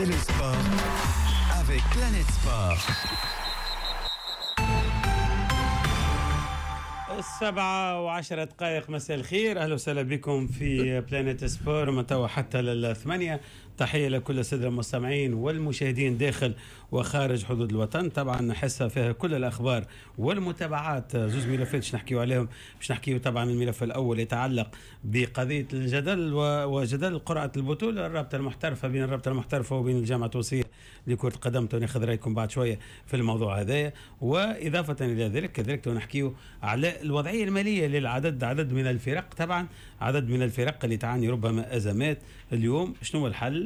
C'est le sport avec Planète Sport. 7:10، مساء الخير، أهلا وسهلا بكم في Planète Sport من توا حتى للثمانية. تحية لكل السادة المستمعين والمشاهدين داخل وخارج حدود الوطن. طبعا حصة فيها كل الأخبار والمتابعات، زوز ملفات باش نحكيو عليهم. باش نحكيو طبعا الملف الأول يتعلق بقضية الجدل وجدل قرعة البطولة الرابطة المحترفة بين الرابطة المحترفة وبين الجامعة التونسية لكرة القدم، ناخذ رأيكم بعد شوية في الموضوع هذايا. وإضافة إلى ذلك كذلك نحكيو على الوضعية المالية للعدد عدد من الفرق، طبعا عدد من الفرق اللي تعاني ربما أزمات اليوم، شنو الحل؟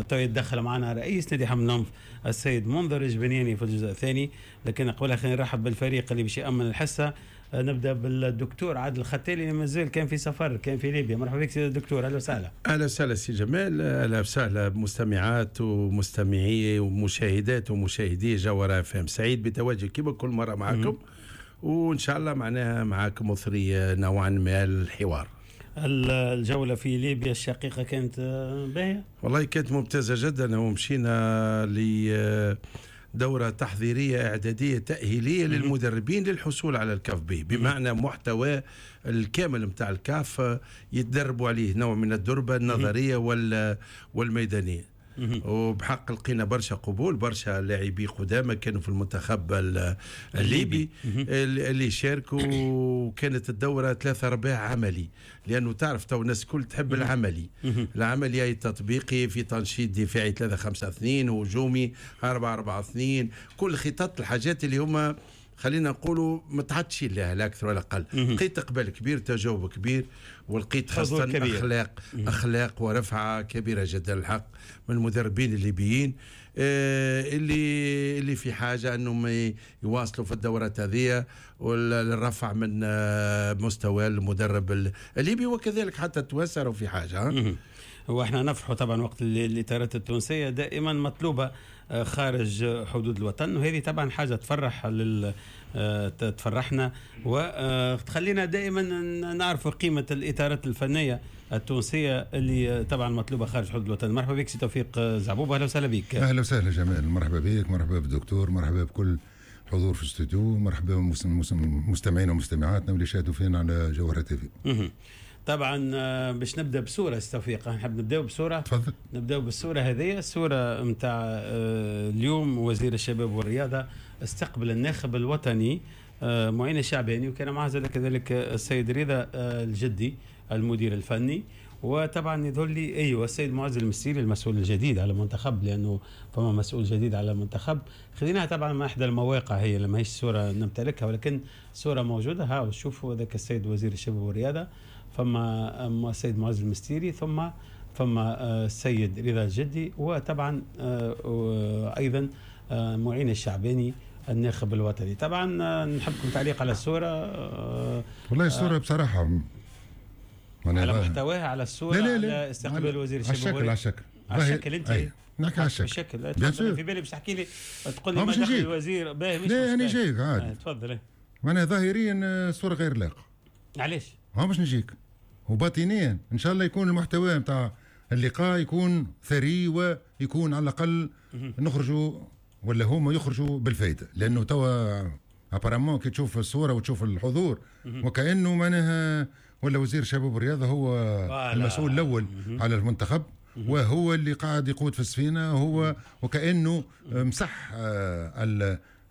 تو يتدخل معنا رئيس نادي حمام الأنف السيد منذر الجبنياني في الجزء الثاني، لكن قبلها خلينا نرحب بالفريق اللي باش يأمن الحصة. نبدا بالدكتور عادل الختالي اللي مازال كان في سفر، كان في ليبيا. مرحبا بك سيد الدكتور، اهلا وسهلا. اهلا وسهلا سي جمال، اهلا وسهلا بمستمعات ومستمعي ومشاهدات ومشاهدي جوهرة اف ام. سعيد بتواجد كما كل مرة معكم، وان شاء الله معناها معاكم مثري نوعا ما الحوار. الجولة في ليبيا الشقيقة كانت باهية؟ والله كانت ممتازة جدا، ومشينا لدورة تحضيرية إعدادية تأهيلية للمدربين للحصول على الكاف بي، بمعنى محتوى الكامل متاع الكاف يتدربوا عليه، نوع من الدربة النظرية والميدانية. وبحق لقينا برشا قبول، برشا لاعبي قدامى كانوا في المنتخب الليبي اللي شاركوا. وكانت الدورة 3/4 عملي، لأنه تعرف تو الناس الكل تحب العملي. العملي أي تطبيقي في تنشيط دفاعي 3-5-2، هجومي 4-4-2، كل خطط الحاجات اللي هما خلينا نقولوا متعطشين لها لا أكثر ولا أقل. لقيت إقبال كبير، تجاوب كبير، ولقيت خاصة أخلاق ورفعة كبيرة جدا الحق من المدربين الليبيين اللي في حاجة أنهم يواصلوا في الدورات هذه والرفع من مستوى المدرب الليبي، وكذلك حتى التوانسة في حاجة. واحنا نفرحوا طبعا وقت الإطارات التونسية دائما مطلوبة خارج حدود الوطن، وهذه طبعا حاجة تفرح تفرحنا وتخلينا دائما نعرف قيمة الإطارات الفنية التونسية اللي طبعا مطلوبة خارج حدود الوطن. مرحبا بك سي توفيق زعبوب، أهلا وسهلا بك. أهلا وسهلا جمال، مرحبا بك، مرحبا بالدكتور، مرحبا بكل حضور في الاستوديو، مرحبا بمستمعينا ومستمعاتنا واللي شاهدوا فينا على جوهرة تيفي. طبعا باش نبدا بصورة استوفيق، نحب نبداو بصورة. تفضل. نبداو بالصورة هذه، الصورة نتاع اليوم. وزير الشباب والرياضة استقبل الناخب الوطني معين الشعباني، وكان معه كذلك السيد رضا الجدي المدير الفني، وطبعا يظهر لي ايوه السيد معز المستيري المسؤول الجديد على المنتخب، لانه فما مسؤول جديد على المنتخب. خذيناها طبعا من احدى المواقع، هي لما هيش صوره نمتلكها ولكن صوره موجودة. ها شوفوا ذاك السيد وزير الشباب والرياضة، فما السيد معز المستيري، ثم فما السيد رضا الجدي، وطبعا ايضا معين الشعباني الناخب الوطني. طبعا نحبكم تعليق على الصورة. والله الصورة بصراحة على محتواها، على الصورة، لا لا لا، على استقبال وزير الشباب على الشكل، على الشكل انت نحكي على الشكل. في بالي باش تحكي لي تقول لي ما دخل الوزير باهي، مش لا انا جايك عادي. تفضل. معناها ظاهريا الصورة غير لائقة. علاش؟ ها باش نجيك. وباطنيا ان شاء الله يكون المحتوى نتاع اللقاء يكون ثري، ويكون على الاقل نخرجوا ولا هما يخرجوا بالفائدة، لانه توا apparemment كي تشوف الصورة وتشوف الحضور وكانه معناها ولا وزير شباب والرياضة هو المسؤول الاول على المنتخب، وهو اللي قاعد يقود في السفينة، هو وكانه مسح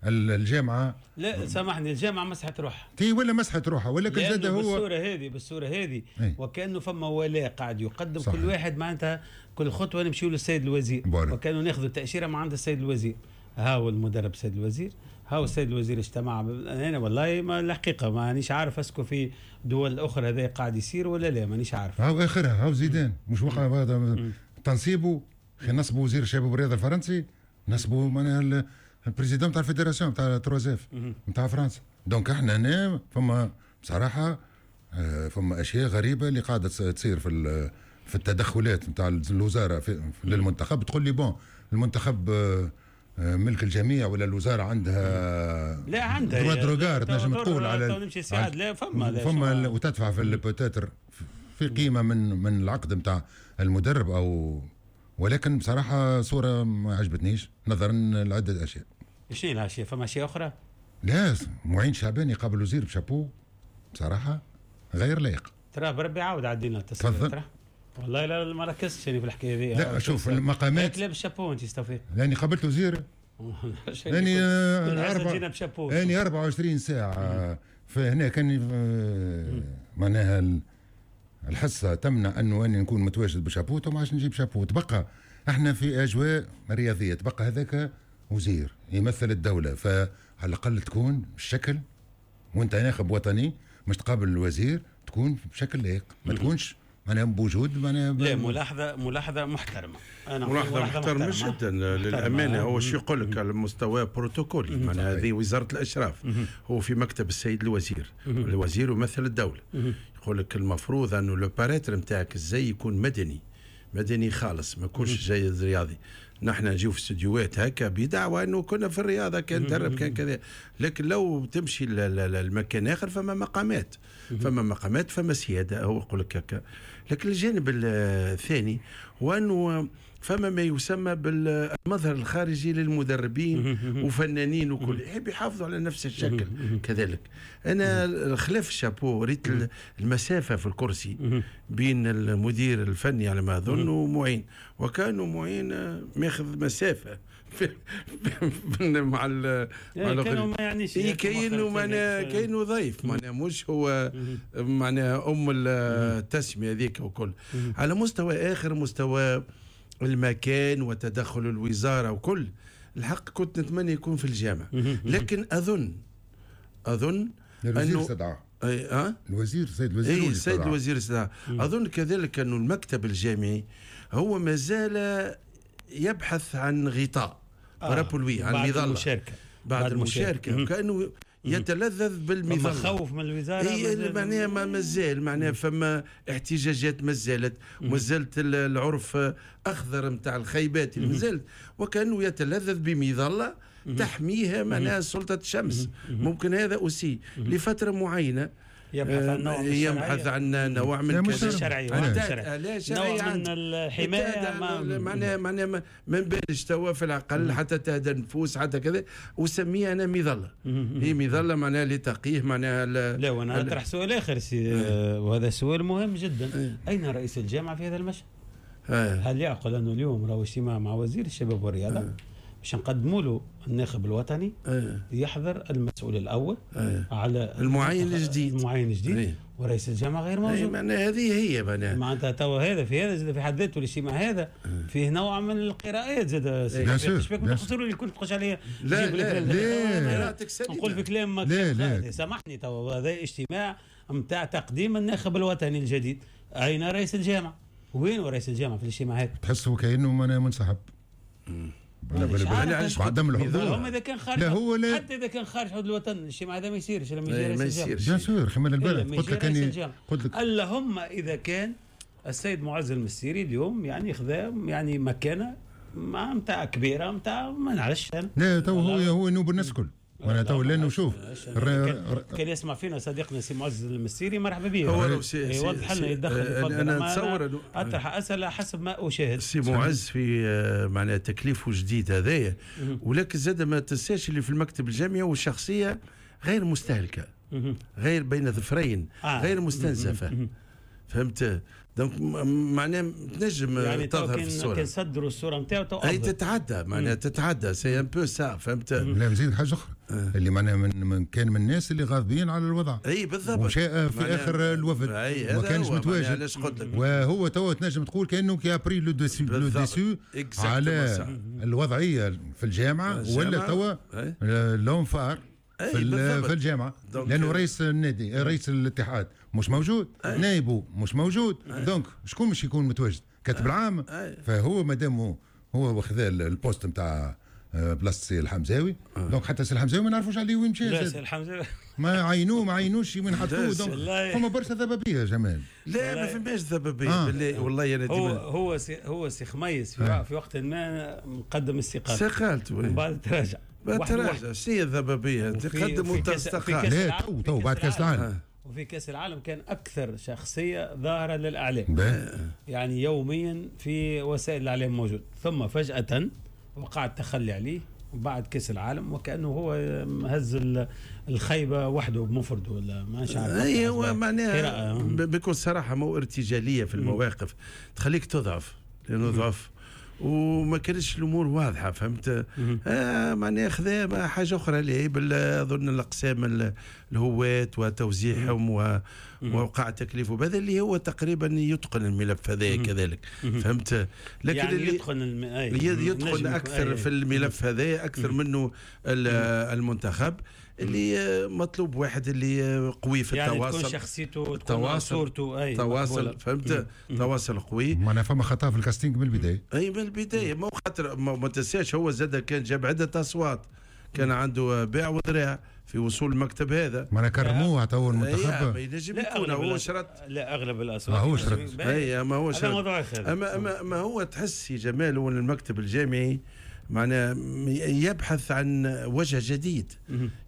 الجامعة. لا سامحني، الجامعة مسحت روحها تي ولا مسحت روحها، ولكن زاد هو بالصورة هذه وكانه فما ولاء قاعد يقدم. صحيح. كل واحد معناتها كل خطوة نمشيو للسيد الوزير، وكانوا ناخذوا التاشيره من عند السيد الوزير. ها هو المدرب السيد الوزير، ها هو السيد الوزير اجتمع. انا والله ما الحقيقة مانيش عارف est-ce que في دول اخرى هذا قاعد يصير ولا لا، مانيش عارف. هاو اخرها، هاو زيدان مش وقع هذا تنصيبه، نصبه وزير الشباب والرياضة الفرنسي، نصبه معناها ال président تاع ال fédération تاع 3 F نتاع فرنسا. donc احنا هنا فما بصراحة فما اشياء غريبة اللي قاعدة تصير في التدخلات نتاع الوزارة للمنتخب. تقول لي bon المنتخب ملك الجميع ولا الوزارة عندها؟ لا عندها droit de regard، تنجم تقول على لا فما وتدفع في peut-être في قيمة من العقد نتاع المدرب او ولكن بصراحة صوره ما عجبتنيش نظرا لعدة اشياء. شنو الاشياء؟ فما اشياء اخرى؟ لا، معين شعباني قابل وزير بشابو بصراحة غير لائق. ترى بربي عاود عدينا التصوير. ترى والله لا ما ركزتش يعني في الحكاية هذه. لا شوف المقامات. لا بالشابو انت توفيق. لاني قابلت وزير لاني لاني 24 ساعة فهنا كان معناها الحصة تمنع انه اني نكون متواجد بشابو وما عادش نجيب شابو. تبقى احنا في اجواء رياضية، تبقى هذاك وزير يمثل الدولة، فعلى الاقل تكون الشكل وانت ناخب وطني مش تقابل الوزير تكون بشكل لائق، ما تكونش معناها بوجود معناها. لا ملاحظة محترمه، انا ملاحظة محترمه جدا للامانة. هو شو يقول لك على مستوى بروتوكولي، معناها هذه وزارة الاشراف، هو في مكتب السيد الوزير، الوزير يمثل الدولة. يقول لك المفروض انه le paraître نتاعك الزي يكون مدني، مدني خالص، ما يكونش زي الرياضي. نحن نجيو في استديوهات هكا بدعوى انه كنا في الرياضة كان درب كان كذا، لكن لو تمشي المكان اخر فما مقامات، فما مقامات، فما سيادة، هو يقول لك هكا. لكن الجانب الثاني هو انه فما ما يسمى بالمظهر الخارجي للمدربين وفنانين وكل، يحب يحافظوا على نفس الشكل كذلك. انا خلاف الشابو ريت المسافة في الكرسي بين المدير الفني على ما اظن ومعين، وكانوا معين ماخذ مسافة مع كانوا ما يعنيش كاينه معناها كاينه ضيف، معناها مش هو معناها ام التسمية هذيك وكل. على مستوى اخر، مستوى المكان وتدخل الوزارة وكل، الحق كنت نتمنى يكون في الجامعة، لكن اظن الوزير استدعاه. الوزير السيد الوزير، السيد الوزير استدعاه. اظن كذلك انه المكتب الجامعي هو ما زال يبحث عن غطاء parapluie، عن مظلة المشاركة. بعد المشاركة كانه يتلذذ بالمظله. خوف من الوزارة هي معناها ما مازال معناها فما احتجاجات مازالت، ومازالت العرف اخضر نتاع الخيبات اللي مازالت، وكانه يتلذذ بمظله تحميها معناها سلطة الشمس. ممكن هذا aussi لفترة معينة يبحث عن نوع من يبحث عن نوع من الشرعية، نوع من الحماية، معناها ما نبالش توا في العقل حتى تهدى النفوس حتى كذا، وسميها انا مظلة. هي مظلة معناها لتقيه معناها. لا وانا اطرح سؤال اخر وهذا سؤال مهم جدا. اين رئيس الجامعة في هذا المشهد؟ هل يعقل انه اليوم راهو اجتماع مع وزير الشباب والرياضة باش نقدموا له الناخب الوطني يحضر المسؤول الاول على المعين الجديد، المعين الجديد ورئيس الجامعة غير موجود. معناها هذه هي معناها توا هذا في هذا في حد ذاته الاجتماع هذا فيه نوع من القراءات زاد. شبيك ما تخسروا اللي كنت تخش عليا. لا لا لا نقول في كلام ما سامحني، توا هذا اجتماع نتاع تقديم الناخب الوطني الجديد، اين رئيس الجامعة؟ وين رئيس الجامعة في الاجتماع هذا؟ تحسه كانه منسحب. عدم الحضور. هم اذا كان خارج، لا هو لا، حتى اذا كان خارج حدود الوطن الاجتماع هذا ما يصيرش لما يجي رئيس الجامعة. bien sûr خمال البلد قلت لك اني قلت لك اللهم اذا كان السيد معز المستيري اليوم يعني خذا يعني مكانه ما نتاع كبيرة نتاع ما نعرفش انا. لا تو هو نوب الناس الكل. وانا تو لانه شوف كان يسمع فينا صديقنا سي معز المستيري مرحبا به، هو يوضح لنا يتدخل. انا نتصور اطرح اسئلة حسب ما اشاهد. سي معز في معناها تكليفه جديد هذايا، ولكن زاد ما تنساش اللي في المكتب الجامعي والشخصية غير مستهلكه، غير بين ظفرين، غير مستنزفه. فهمت؟ donc معناها تنجم يعني تظهر في الصورة. كان صدروا الصورة نتاعو اي تتعدى معناها تتعدى c'est un peu ça. فهمت؟ لا نزيد حاجة اخرى اللي معناها من كان من الناس اللي غاضبين على الوضع. اي بالضبط. وشاء في اخر الوفد ما كانش متواجد. وهو توا تنجم تقول كانه qui a pris le dessus على الوضعية في الجامعة، ولا توا l'homme fort في الجامعة، لانه رئيس النادي رئيس الاتحاد مش موجود، نائبه مش موجود، donc شكون مش يكون متواجد؟ كاتب العام. فهو مادام هو واخذ ال poste نتاع بلاصة سي الحمزاوي، donc حتى سي الحمزاوي ما نعرفوش عليه وين مشى. لا سي الحمزاوي ما عينوه ما عينوش وين حطوه. donc فما برشا ذبابيه يا جمال. لا ما فماش ذبابيه بالله. والله انا ديما هو سي خميس في وقت ما مقدم استقالته، استقالته ومن بعد تراجع. تراجع سي الذبابيه تقدم وتستقال. لا تو بعد كاس العالم. وفي كاس العالم كان اكثر شخصية ظاهره للاعلام، يعني يوميا في وسائل الاعلام موجود، ثم فجاة وقع التخلي عليه بعد كاس العالم، وكانه هو هز الخيبه وحده بمفرده ولا ما عارف. اي هو معناها بكل صراحة مو ارتجاليه في المواقف تخليك تضعف، لانه ضعف وما كانتش الامور واضحة، فهمت؟ معناها خذا حاجة اخرى اللي اظن الاقسام الهواة وتوزيعهم ووقع تكليفه بهذا اللي هو تقريبا يتقن الملف هذا كذلك، فهمت؟ لكن يعني اللي يتقن يتقن اكثر في الملف هذا اكثر منه المنتخب اللي مطلوب واحد اللي قوي في يعني التواصل، تكون شخصيته، تكون صورته، اي تواصل، فهمت؟ تواصل قوي. معناها فما خطا في ال casting من البداية. اي من البداية، ما خاطر ما تنساش هو زاد كان جاب عده اصوات، كان عنده باع وذراع في وصول المكتب هذا، معناها كرموه عطاوه المنتخب. ما ينجم يكون هو شرط، لا اغلب الاصوات هو شرط. اي ما هو شرط. اما ما هو تحس يا جمال هو المكتب الجامعي معناه يبحث عن وجه جديد،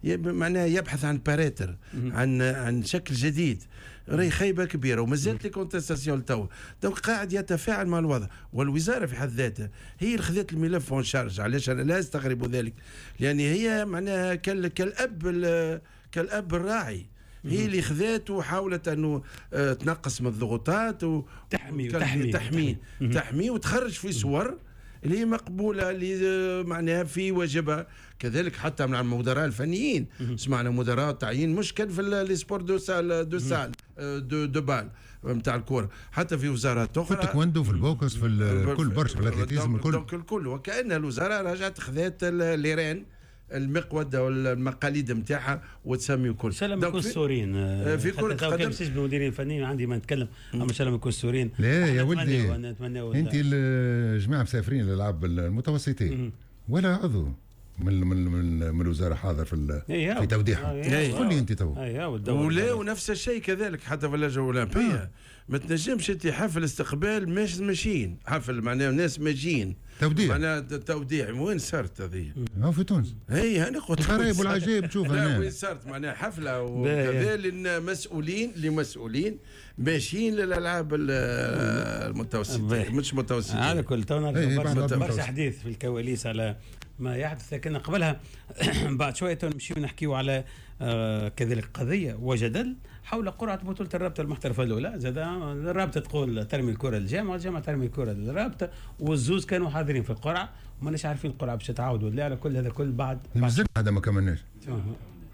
معناه يبحث عن paraître، عن شكل جديد. راهي خيبه كبيرة ومازالت les contestations تو، donc قاعد يتفاعل مع الوضع. والوزارة في حد ذاتها هي اللي خذت الملف en charge. علاش انا لا استغرب ذلك؟ لان هي معناها كالاب الراعي، هي اللي خذات وحاولت انه تنقص من الضغوطات وتحمي تحمي تحمي, تحمي وتخرج في صور اللي هي مقبولة، اللي معناها في واجبها. كذلك حتى مع المدراء الفنيين، سمعنا مدراء تعيين مش كان في les sports de salle de salle de balle نتاع الكورة، حتى في وزارات اخرى، في التايكوندو، في ال boxe، في الكل، برشا في ال athlétisme الكل. donc الكل، وكأن الوزارة رجعت خذات les rênes المقود والمقاليد نتاعها وتسمي كل. ان شاء الله ما يكون السوريين في كرة القدم، كان باش المديرين الفنيين عندي ما نتكلم، اما ان شاء الله ما يكون السوريين. لا يا ولدي، انت الجماعة مسافرين للالعاب المتوسطين ولا عضو من من من, من الوزارة حاضر في في توديعهم. قول لي انت تو. ولا ونفس الشيء كذلك حتى في اللجنة الاولمبية ما تنجمش انت حفل استقبال مش ماشيين، حفل معناها ناس ماشيين توديع، معناها توديع. وين صارت هذه؟ في تونس. اي انا قلت الغرايب والعجائب تشوفها. لا وين صارت معناها حفلة وكذا للمسؤولين، لمسؤولين ماشيين للالعاب المتوسطة، مش متوسطه. على كل تو برشا حديث في الكواليس على ما يحدث، لكن قبلها بعد شوية نمشيو نحكيو على كذلك قضية وجدل حول قرعه بطوله الرابطة المحترفه الاولى. زاد الرابطة تقول ترمي الكره للجامعة، والجامعة ترمي الكره للرابطة، والزوز كانوا حاضرين في القرعة وماناش عارفين القرعة باش تعاود ولا على كل هذا كل بعد. مازال هذا ما كملناش.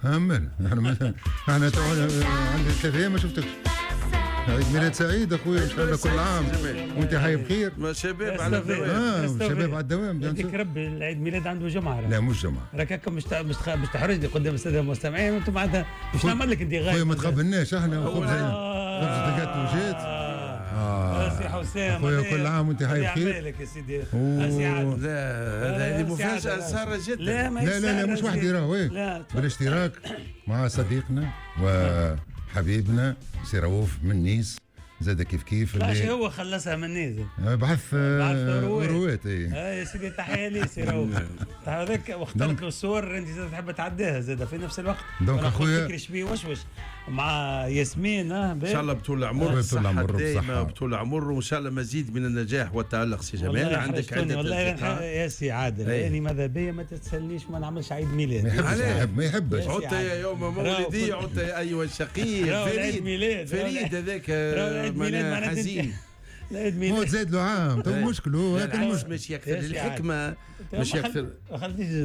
همل احنا عندي 3 ايام ما شفتكش. عيد ميلاد سعيد اخويا، ان شاء الله كل عام وانت حي بخير. شباب على الدوام. شباب على الدوام. يعطيك ربي العيد ميلاد عنده جمعه. لا مش جمعه. راك هكا مش تحرجني قدام السادة المستمعين، وانتم معناتها مش نعمل لك انت غايب. خويا ما تخبرناش احنا، خبزه جات وجات. سي حسام خويا كل عام وانت حي بخير. لك يا سيدي. لا هذه مفاجاة ساره جدا. لا لا لا مش وحدي راهو، بالاشتراك مع صديقنا وحبيبنا سي رؤوف من نيس، زاد كيف كيف. اللي هو خلصها من نيس، بعث روات. اي يا سيدي تحية لي سي رؤوف. هذاك واخترت له الصور انت زاد تحب تعديها زاد في نفس الوقت. donc اخويا فكري شبيه وشوش مع ياسمين. ان شاء الله بطول العمر، صحة دائمة بطول العمر، وان شاء الله مزيد من النجاح والتألق سي جمال. عندك عدة والله يا سي عادل، يعني ماذا بيا ما تتسلنيش ما نعملش عيد ميلاد. ما يحبش. عدت يا يوم مولدي، عدت ايها الشقي فريد، فريد هذاك معناها حزين. العيد ميلاد هو تزاد له عام تو مشكل، هو هذا المشكل. مش يكثر الحكمة، مش يكثر.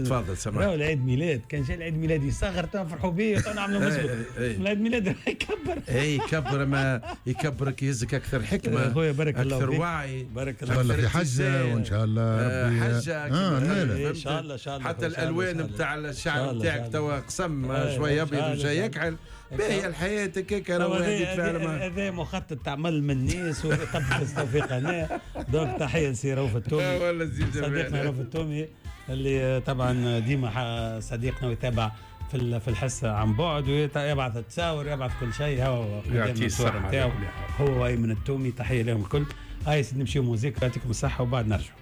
تفضل سامح. راهو العيد ميلاد كان جا العيد ميلاد يصغر تفرحوا به ونعملوا مسبق. العيد ميلاد يكبر. اي يكبر، ما يكبرك يهزك اكثر حكمه، خويا بارك الله اكثر وعي، بارك الله الله في حجه وان شاء الله ربي حجه. ان شاء الله ان شاء الله. حتى الالوان نتاع الشعر نتاعك توا قسم شوية ابيض وشوية يكحل. باهي الحياة هكاك. هذا مخطط تعمل من الناس وطبق توفيق هنا. donc تحية لسي رؤوف التومي، صديقنا رؤوف التومي اللي طبعا ديما صديقنا ويتابع في الحصة عن بعد، ويبعث التصاور ويبعث كل شيء. هو يعطيه الصحة هو ايمن التومي، تحية لهم الكل. هاي نمشيو موزيك، يعطيكم الصحة وبعد نرجعوا.